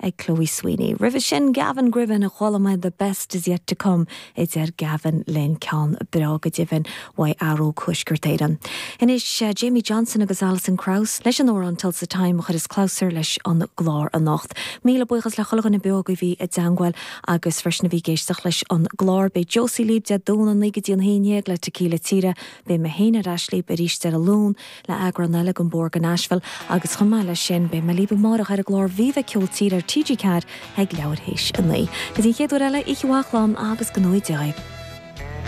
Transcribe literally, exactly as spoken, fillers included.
ag Chloe Sweeney. Roimhe sin Gavin Griffin a chuala muid the best is yet to come idir Gavin linn ceann breá go deimhin uaidh Aró Tuaisceart Éireann. Anois uh, Jamie Johnson agus Alison Krauss leis an amhrán Tulsa Time chuir is clabhsúr leis an gclár anocht. Míle buíochas le chuile dhuine beo a bhí i dteagmháil agus freisin a bhí ag éisteacht leis an gclár beidh Josie libh Dé Domhnaigh naoi go dtí an haon déag le Tequila Tíre beidh mé féin ar ais libh arís ar an Luan le eagrán eile den Bóthar go Nashville agus chomh maith leis sin beidh mé libh amárach ar an gclár Viva Ceol Tíre ar TG Ceathair ag leathuair théis a naoi. Go dtí an chéad uair eile oíche mhaith slán agus go ngnóthaí Dia.